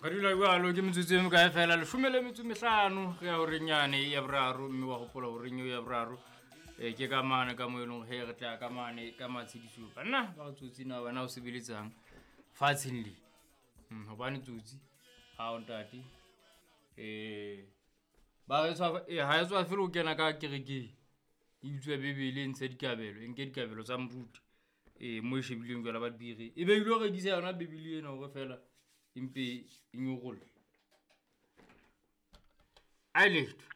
Ka dula jalo ke metsotso e mekae fela leshome le metso mehlano re ya horeng yane ya boraro, mme wa gopola horeng eo ya boraro ke ka mane ka mo e leng he re tla ka mane ka matshediso. Banna ba re tsotsi na wena o sebeletsang fatsheng le, hobane tsotsi ha o ntate ba re tshwa ha e tswa fela o kena ka kerekeng e utswe Bebele, e ntshe dikabelo, e nke dikabelo tsa moruti mo e shebileng jwala ba dibiri, e be ile rekisa yona Bebele ena hore fela empe e nyorolle. A letho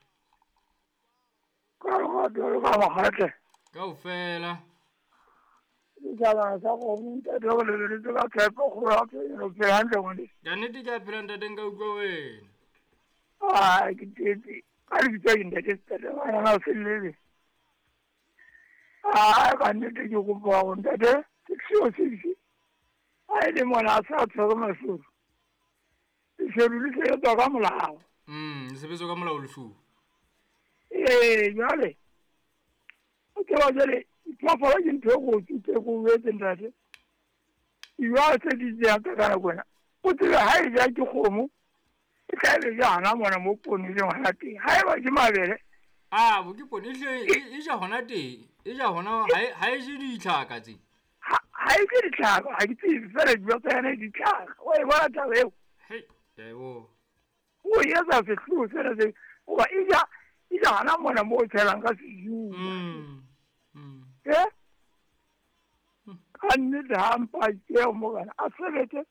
Ka lerato le ka makgatle. Kaofela. Ditjhaba sa kgomo ntate o lebeletse ka tshepo kgolo ya phelo, phela hantle ngwaneso. Ka nnete ke a phela ntate, nka utlwa wena. Ah, ke tetse. Ka lebitso ke ntate Setate ngwana o sellele. Ah, ka nnete ke kopa hore ntate 606 ha e le mona a sa tshwere mashodu. Leshodu le sebetswa ka molao. Le sebetswa ka molao leshodu. Ee, jwale o tseba jwale diphoofolo ke ntho e kotsi tse ko etse ntate. Jwale tse di tseyang ka ka nako ena, o tsebe ha e ja ke kgomo, e tla be ja hona mona mo poone e leng hona teng. Ha eba ke mabele, A bo ke poone e hle e ja hona teng, e ja hona ha e je ditlhaka tse. Ha e je ditlhaka, ha ke tsebe fela dijo tsa yona ditlhaka. O e bona taba eo? Hei, ke a e bona. O etsa sehloho sena se hoba e ja e ja hona mona mo o tshelang ka seju. Ka nnete ha mpa ke morena a sebetse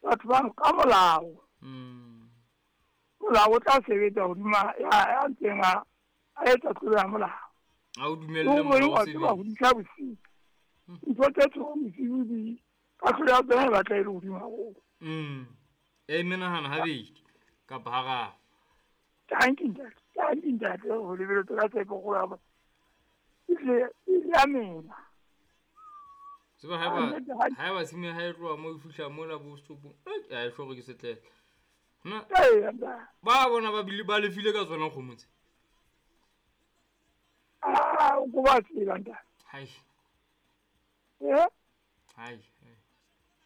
batho ba ka molao. Molao o tla sebetsa hodima ya ntseng a etsa tlolo ya molao. Ha o dumelle molao o sebetse. Ho disa bosiu. Ntho tse tshwereng bosiu di kahlolo ya tsona e batla e le hodimo haholo. E menahana habedi kapa hararo. Thank you ntate. Thank you ntate ho lebeletse ka tshepo kgolo ya bona. Ehlile e ya mela. Tseba haeba tshimo ha e tloha mo e fihla mola bo setopong, a e hlore ke setlele. Na ba bona ba bile ba lefile ka tsona kgomo tse. Ah, o ko ba tseba ntate. Hai. Hai.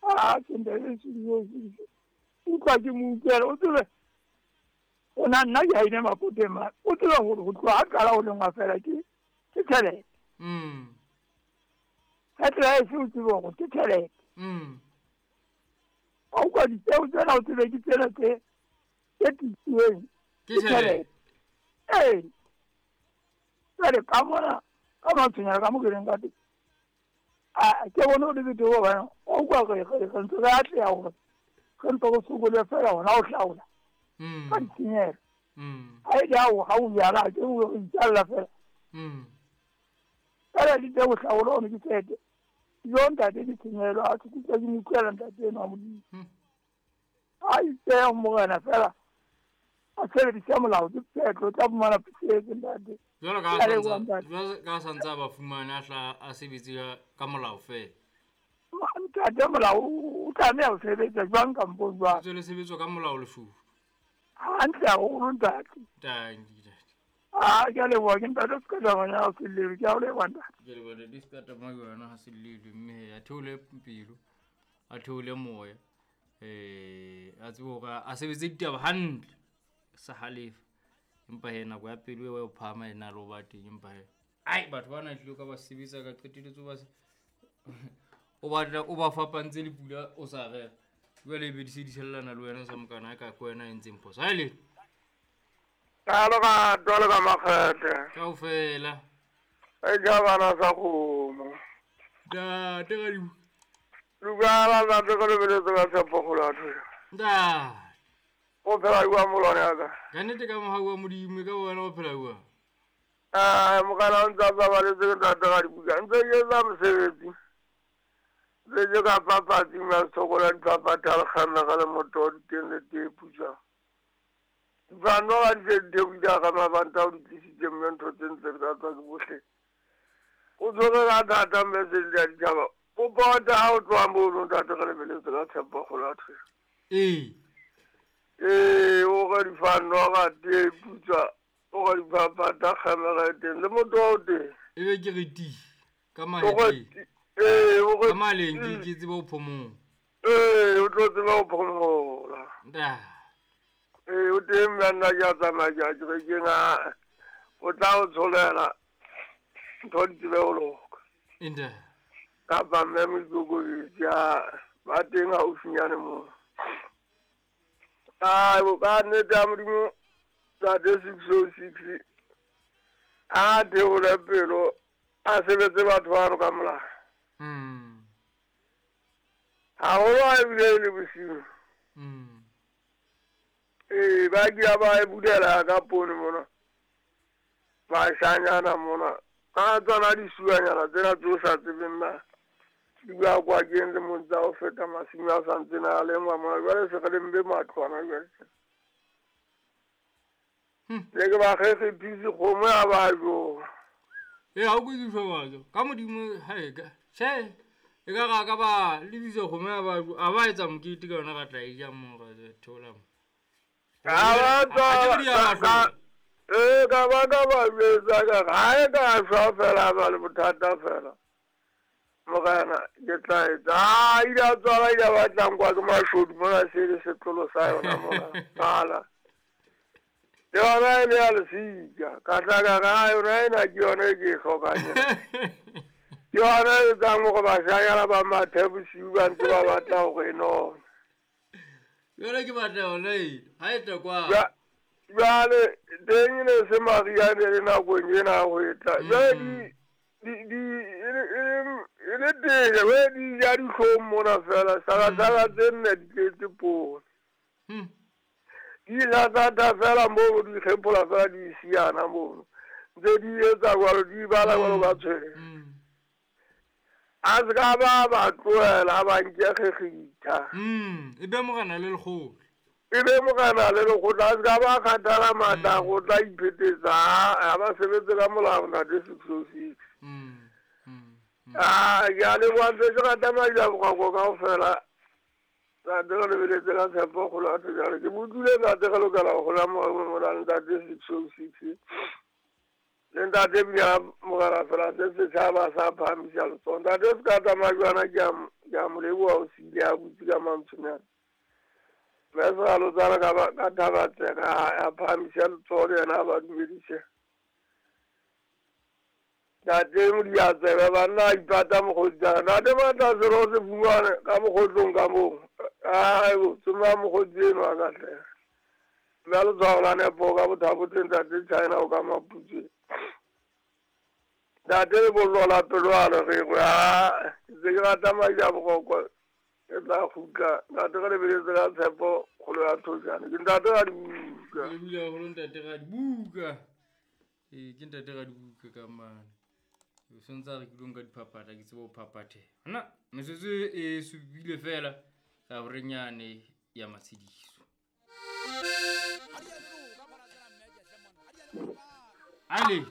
Ah, ke ntate se se. Utlwa ke mo utlwela, o tsebe. O na nna ke haine mapoteng ma. O tsebe hore ho tloha ha qala ho lengwa fela ke tjhelete. Ha tsela e se o tsebe hore ke tjhelete. Ha o kwa dipeo tsena o tsebe ke tsena tse tiileng. Ke tjhelete. Ee. Jwale ka mona ka matshwenyana ka mo ke leng ka teng. A ke bone o le betere hobane wa utlwa re ntse re atleha hore re ntse re sokole fela hona ho hlaola. Ka ditshenyehelo. Ha e le ha o jala ke o itjalla fela. Fela di teng ho hlaola ono ke tjhelete. Jo ntate ditshenyehelo a ke kutlwa ke mo utlwela ntate enwa Modimo. A ipehe morena fela a sebedise molao ke phetlo, o tla fumana pusetso ntate. Jwalo ka santse a ba fumane a hla a sebetse ka molao fela. Ntate molao o tlameha ho sebetsa jwang kampong jwang? Tswele sebetswa ka molao leshodu. Hantle haholo ntate. Thank you ntate. Ah, ke a leboha ke ntate Sekata ha se ke a leboha ntate. Ke leboha ntate Sekata yona ha se llelwe, mme a theole pelo, a theole moya. A tsebe hore a sebetse ditaba hantle, sa halefa. Empa he nako ya pelo eo o phahama e na le ho ba teng, empa he ai batho bana tlilo ka ba sebetsa ka qeteletse ba o batla o ba fapantse le pula o sa rera. Jwale e be di se di tshellana le wena sa mokana ka ko wena e ntseng phoso. Ha le Ka lerato le ka makgethe. Kaofela. E ja bana sa kgomo. Ntate ka di. Lugala ntate ka lebeletse ka tshepo kgolo ya thuso. Ntate. O phela jwang molwane wa ka? Ka nnete ka mohau wa Modimo ka wena o phela jwang? Mokana o ntse a babaletse ke ntate ka dibuka. Ntse ke etsa mosebetsi. Ntse ke ka papatsi mme a sokola diphaphatha le kgamega le motoho diteng le tee putswa. Difano ga di se di theohile ka mabanta o di tlisitse mme ntho tse ntle di ka tswa ke bohle. O tshwere ka thata mme se di a ditjhaba. O pota ha o tloha mono ntate re lebeletse ka tshepo kgolo ya thuso. Ee. Ee, o ka difano ga tee putswa, o ka diphaphatha kgamega e teng le motoho o teng. E be ke re ti ka mahetleng. Ee, o ka maleng ke tsebe ho phomola. Ee, o tlo tseba ho phomola. Nda. Ee, o teng mme nna ke a tsamaya ke ya kerekeng a o tla o tsholela ntho di tsebe go loka. Nda. Kapa mme Moikokobetsi a ba teng haufinyane moo. Ai bo ka nnete ya Modimo tate 606 a theole pelo a sebetse batho bano ka molao. Haholo ha ebile e le bosiu. Ee, ba kila ba e bulela ka poone mona. Bashanyana mona. Ka tsona disuanyana tsena tse o sa tsebeng na. Di bua kwa keng le mong tsa ho feta masimo a sa ntseng a lengwa mona. Jwale se re lemme matlwana jwale. Ne ke ba kgekgethise kgomo ya ba jowa. Ee, ha o kwediswa batho. Ka Modimo ha e ka. Tjhe, e ka ra ka ba lebisa kgomo ya ba a ba etsa mokete ka yona ra tla e ja mo ra theola mo. Ka ba tsa ee ka ba ka ba jwetsa ka re ha e ka shwa fela ba le bothata fela. Morena ke tla etsa. Ha ile a tswala ile a batlang kwa ke mashodu mona se le setlolo sa yona mona. Qala. Le yona e le ya lesika. Ka tla ka re ha yona ena ke yona e ke e hlokang ena. Ke yona e etsang hore bashanyana ba mathe bosiu ba ntse ba batla hore e none. Jwale ke batla yona e. Ha e tla kwa. Jwale teng e ne se mariha ne le nakong ena ya hwetla. Jwale di e le tele we di ja dihlong mona fela sala tse nne di tletse poone. Di latata fela moo di kgephola fela di siana mono. Ntse di etsa jwalo di bala jwalo ka tshwele. A se ka ba ba tlohela ba nke kgekgitha. E be morena le lekgotla. E be morena le lekgotla a se ka ba kgathala matla go tla iphetetsa ha ba sebetse ka molao ntate 606. Ah, ke a leboha ntse ke rata Maja Bokwako kaofela. Ntate re lebeletse ka tshepo kgolo ya thojana. Ke mo utlwile ntate re lokela ho hola mona le ntate 606. Le ntate bja morena fela se setjhaba sa phahamisa letsoho. Ntate se ka tsamaya jwana ke a mo leboha o siile a butse ka mantshonyana. Mme segalotsana ka Thabatseka a phahamisa letsoho le yena a ba dumedise. Ntate Modiatsebe banna a ipata mokgotsana. Ntate Matla selo se fumane ka mokgotlong ka moo. Aibo, tsoma mokgotsi eno a ka hle. Mme letshwao la nepo ka bothabotheng ntate China o ka Maputswe. Ntate lebollo la pelo a le regwe. A ke ntse ke rata Maja Bokwako ke tla kgutla. Ntate re lebeletse ka tshepo kgolo ya thojana. Ke ntate Radibuka. Ke lebohile haholo ntate Radibuka. Ee, ke ntate Radibuka ka mane. O sontse a re ke ka diphaphatha ke tsebe ho phaphatheha. Nna metsotso e supile fela ka horenyane ya matshediso. Ale.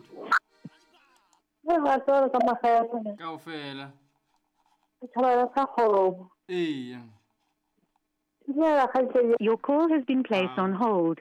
Kaofela. Ee. Your call has been placed on hold.